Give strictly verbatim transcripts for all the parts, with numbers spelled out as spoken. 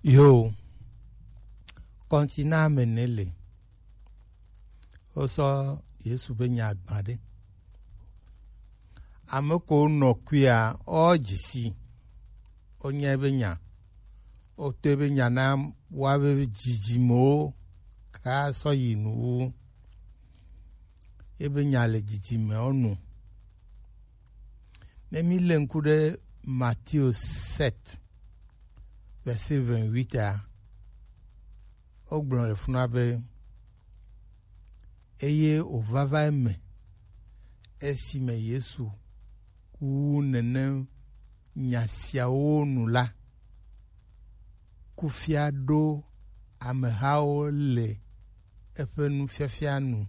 Yo, kɔntina me ne le. Wo sɔ Yesu be nya gba ɖe. Ame ko nɔ kuia, o dzisi. O nya be nya. O to be nya na wa be dzidzimewo ka sɔ yi nu wu. Ebe nya le dzidzimewo nu. Ne mi le ŋku ɖe Matthieu sept, verset vingt-huit a, wogblɔ le funa be, eye wòvava eme esime Yesu wu nenem nya siawo nu la, kufia ɖo amehawo le eƒe nufiafia nu,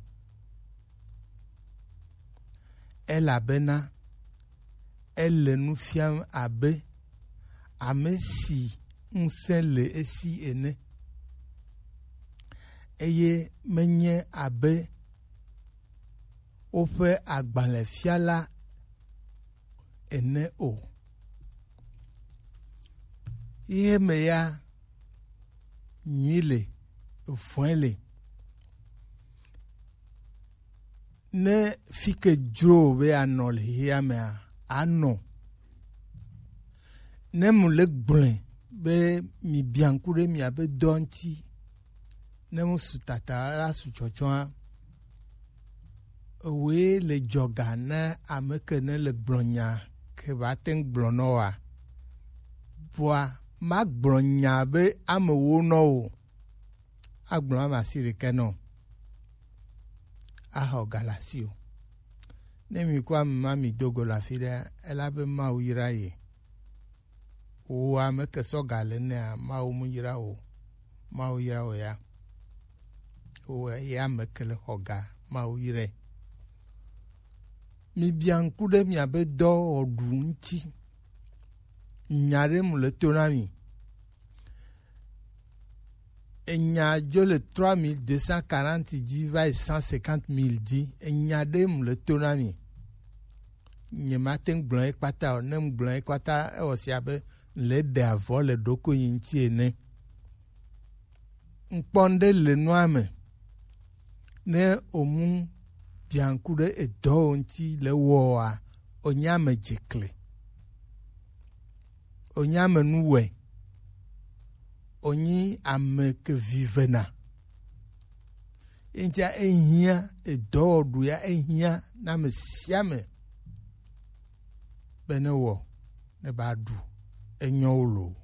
elabena ele nu fiam abe ame si ŋusẽ le esi ene, eye menye abe woƒe agbalẽfiala ene o. Xexe me ya, nyui le, vɔ̃e le. Ne fi ke dzro wò be anɔ le xexea mea, anɔ. Ne mu le gblɔe be mi bia ŋku ɖe miabe dɔ ŋuti, ne mu su tata la su tsɔtsɔa, ewoe le dzɔga na ame ke ne le gblɔ nya ke ba te ŋu gblɔ nɔ wa. Vɔa, ma gblɔ nya be ame wo nɔ o. Agblɔ ame asi ɖekɛ nɔ. Axɔ ga le asi o. Ne mi kɔ ame ma mi do go le afi ɖe, ela be Mawu yra ye. Wo ame ke sɔ ga le nea, Mawu mu yra o. Mawu yra o ya. Wo ya ame ke le xɔ ga, Mawu irae. Mi bia ŋku ɖe miabe dɔ wɔɖu ŋuti. Nya ɖe mu le to na mi. Enya dzo le trois mille deux cent quarante dzi va yi cent cinquante mille dzi. Enya ɖe mu le to na mi. Nye ma te ŋu gblɔ ye kpata o. Ne ŋu gblɔ ye kpata, ewɔ sia be le ɖe avɔ le ɖokuinye ŋuti ene. Ŋkpɔ ŋɖe le nua me. Ne omu bianku ɖe edɔwo ŋuti le wɔa, onye ame dzekle. Onye ame nuwɔe. Onye ame ke vivena. Eŋutia ehiã, edɔwɔɖu ya ehiã na ame sia ame be ne wɔ, ne ba ɖu, enyɔ wo loo.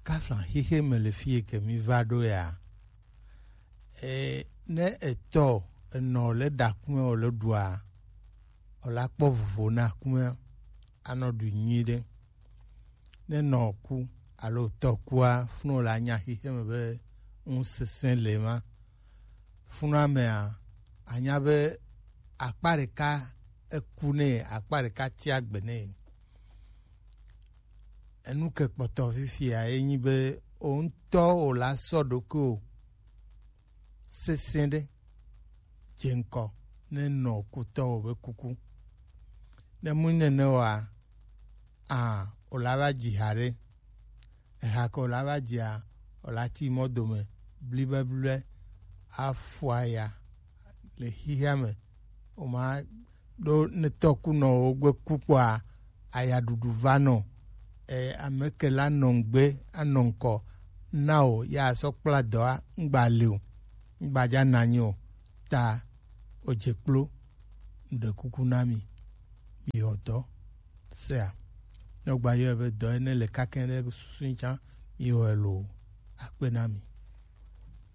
Kafla xexe me le fi yi ke mi va ɖo ya, e, ne etɔ enɔ le ɖa kume o le ɖua, o la kpɔ vovo na kume anɔ ɖu nyuiɖe. Ne nɔ ku alo tɔ kua, funu la nya xexe me be ŋusesẽ le ma. Funua mea, anya be akpa ɖeka eku nɛ, akpa ɖeka tia gbe nɛ. Enu ke kpɔtɔ fifia ye nyi be o ŋutɔ o la sɔ ɖokuiwò sesẽ ɖe dze ŋkɔ ne nɔ kutɔwo be kuku. Ne mu nene oa, a, o la va dzi ha ɖe. Eha ke o la va dzia, o la ti mɔ dome blibeblibe afua ya le xixia me. O ma ɖo ne tɔkunɔwo gbe ku kpɔa, ayaɖuɖu va nɔ. E, ame ke la nɔ ŋgbe anɔ ŋkɔ na o, ya sɔ kpla dɔa, ŋgba le o, ŋgba dza nanyi o, ta o dze kplo, ŋɖe kuku na mi, mi xɔ dɔ sea. Ne o gba yɔe be dɔ ene le kakɛ ɖe susu tsã, mi xɔe lo, akpe na mi.